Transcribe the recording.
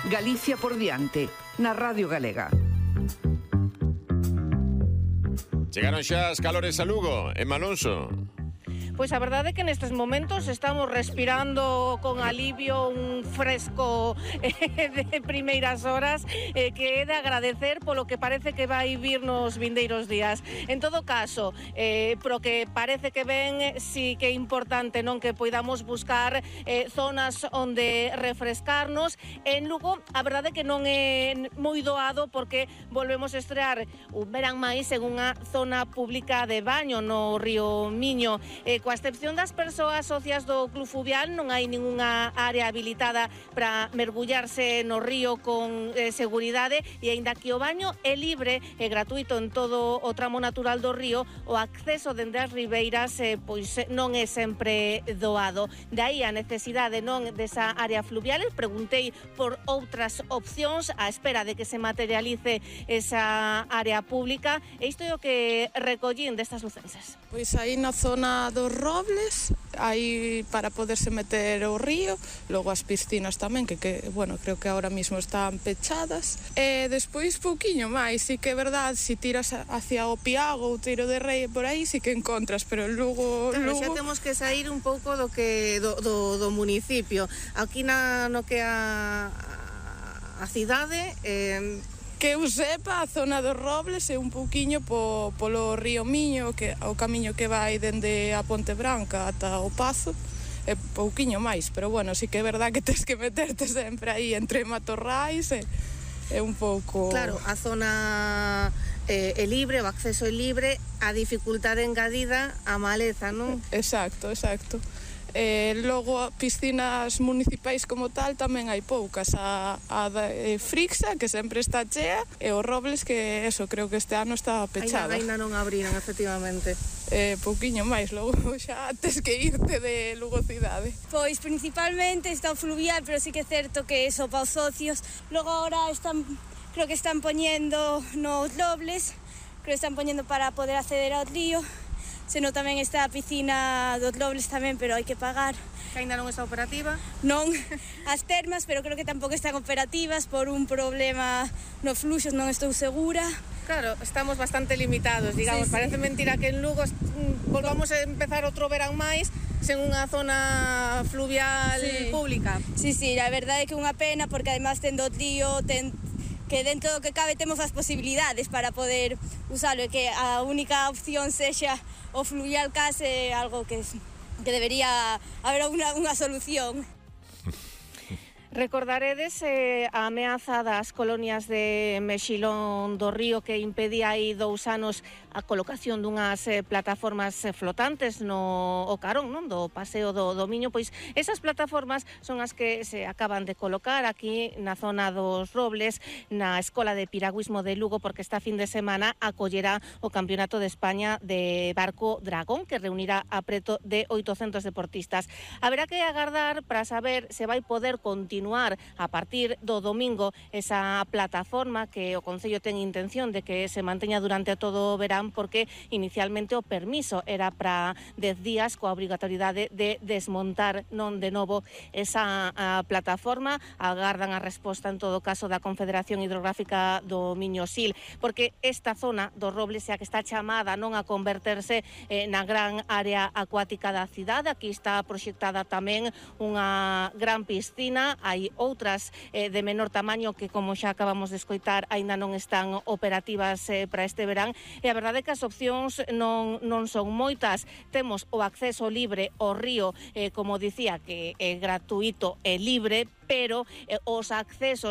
Galicia por diante, na Radio Galega. Chegaron xa as calores a Lugo, Emma Alonso. Pois a verdade é que nestes momentos estamos respirando con alivio un fresco de primeiras horas que é de agradecer polo que parece que vai vir nos vindeiros días. En todo caso, pro que parece que ven, sí que é importante non que poidamos buscar zonas onde refrescarnos. En Lugo, a verdade é que non é moi doado porque volvemos a estrear un verán máis en unha zona pública de baño no río Miño. Coa excepción das persoas socias do Club Fluvial, non hai ningunha área habilitada para mergullarse no río con seguridade, e aínda que o baño é libre e gratuito en todo o tramo natural do río, o acceso dende as ribeiras pois non é sempre doado. De aí a necesidade non desa área fluvial. Preguntei por outras opcións á espera de que se materialice esa área pública, e isto é o que recollín destas lucenses. Pois aí na zona dos Robles, aí para poderse meter ao río, logo as piscinas tamén, que bueno, creo que ahora mismo están pechadas. E despois pouquiño máis, sí que é verdade, si tiras hacia o Piago ou Tiro de Rei por aí, sí que encontras, pero logo... Claro, xa temos que sair un pouco do municipio. Aquí no que a cidade... Que eu sepa, a zona dos Robles é un pouquiño polo río Miño, que o camiño que vai dende a Ponte Branca ata o Pazo, é pouquiño máis, pero bueno, sí que é verdad que tens que meterte sempre aí entre matorrais, é un pouco... Claro, a zona é libre, o acceso é libre, a dificultade engadida a maleza, non? Exacto. Logo, piscinas municipais como tal tamén hai poucas. A Frixa, que sempre está chea, e os Robles, que eso, creo que este ano está pechada. Ainda non abriran, efectivamente. Pouquiño máis, logo xa tes que irte de Lugo cidade. Pois principalmente está o fluvial, pero sí que é certo que eso para os socios. Logo agora creo que están poñendo nos Robles, creo que están poñendo para poder acceder ao río. Senón tamén está a piscina dos Robles tamén, pero hai que pagar. Que ainda non está operativa? Non, as termas, pero creo que tampouco están operativas por un problema nos fluxos, non estou segura. Claro, estamos bastante limitados, digamos. Sí. Parece mentira que en Lugo volvamos a empezar outro verán máis sen unha zona fluvial pública. Sí, a verdade é que é unha pena, porque además tendo o río, que dentro do que cabe temos as posibilidades para poder usalo, e que a única opción sexa o fluvial case algo que debería haber unha solución. Recordaredes a ameaza das colonias de Mexilón do Río que impedía aí 2 anos a colocación dunhas plataformas flotantes no carón, non, do paseo do Miño. Pois esas plataformas son as que se acaban de colocar aquí na zona dos Robles, na Escola de Piragüismo de Lugo, porque esta fin de semana acollerá o Campeonato de España de Barco Dragón, que reunirá a preto de 800 deportistas. Haberá que agardar para saber se vai poder continuar a partir do domingo esa plataforma que o Concello ten intención de que se manteña durante todo o verán, porque inicialmente o permiso era para 10 días coa obrigatoriedade de desmontar non de novo esa plataforma. Agardan a resposta en todo caso da Confederación Hidrográfica do Miño-Sil, porque esta zona dos Robles é a que está chamada non a converterse na gran área acuática da cidade. Aquí está proxectada tamén unha gran piscina. Hai outras de menor tamaño que, como xa acabamos de escoitar, aínda non están operativas para este verán, e a verdade é que as opcións non son moitas. Temos o acceso libre ao río, como dicía, que é gratuito e libre, pero os accesos